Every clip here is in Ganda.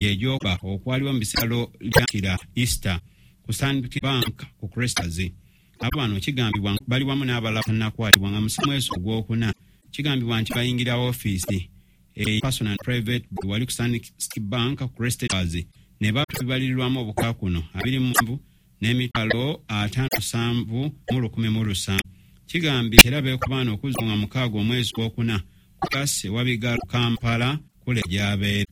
Gyegyoba okwaliwo mu biseera lyakira Easter ku Stanbic Bank ku Cresters. Abo bano kigambibwa bali wamu n'abalala bannakwatibwa nga mwezi ogwokuna. Kigambibwa nti bayingira ofiisi e personal and private wali ku Stanbic Bank ku Cresters ne babalirirwamu obuka kuno 27 n'emitwalo 57,017. Kigambibwa era beekubaana okuzza nga 6 omwezi gwokuna ku kasi Wabigalo Kampala kule gy'abeera.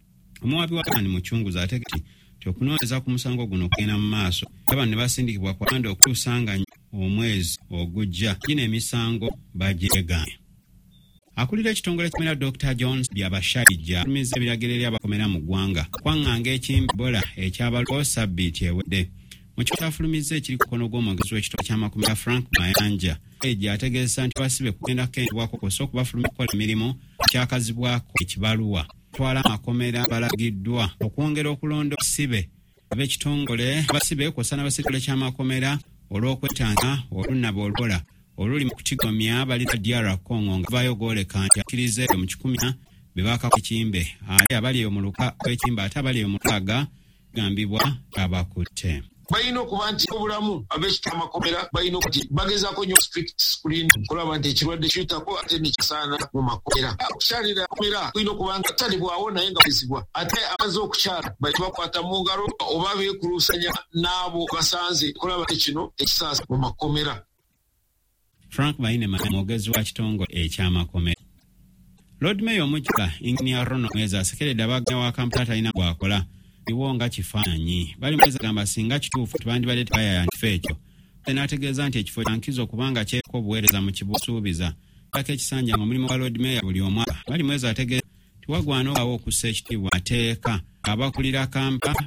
Omuwabi wa Kani Mucunguzi ategeka nti okunoonyereza ku musango guno kugenda mu maaso era bano ne basindikibwa ku Rwanda okutuusa nga omwezi ogujja gino emisango bagyegaanye. Akulira ekitongole ky'amakomera Dr. Jones Byabashaija afulumizza ebiragiro eri abakomera mu ggwanga okwaŋŋanga ekimbe Ebola ekyabalukawo ssabbiiti ewedde. Mu kifo kyafulumizza ekiri ku mukono gw'omwogezi w'ekitongole ky'amakomera Frank Mayanja, Ejja ategeezesa nti abasibe kugenda kukendebwako kw'ossa okubafulumya okukola emirimu kyakazibwako ekibaluwa. Twala amakomera balagiddwa okwongera okulonda abasibe ab'ekitongole abasibe kw'ossa n'abasirikale ky'amakomera olw'okwetanga olunnaba olukola oluli mu kutigomya bali DR Congo nga bavaayo gwoleka nti akkiriza eyo mu 100 be baakako ekimbe ate abali eyo mu luka kw'ekimbe ate abali eyo mu 6 gambibwa abakutte. Balina okuba nti obulamu ab'ekita amakomera balina okuba nti bagezaako nnyo strict screen okulaba nti ekirwadde kiyitako ate nekisaana mu makomera. Okukyalira makomera kulina okuba nga talibwawo naye nga kizibwa ate abaze okukyala bali bakwata mu ngalo oba beekuluusanya n'abo basanze okulaba kino ekisaasa mu makomera. Frank Baine mwogezi wa kitongole eky'amakomera. Lord Mayor omuggya Engineer Ronald Mwezi asekeredde abaganya wa Kampala talina gwakola iwo nga kifaananyi. Bali Mwezi agamba singa kituufu tebandibadde tebayaaya kifo ekyo. N'ategeeza nti ekifo kya nkizo kubanga kyeko obuweereza mu kibusuubiza. Ako ekisanja mu mulimu gwa Lord Mayor buli omwaka. Bali Mwezi ategeeza nti wagwana okubaawo okussa ekitiibwa mateeka abakulira Kampala.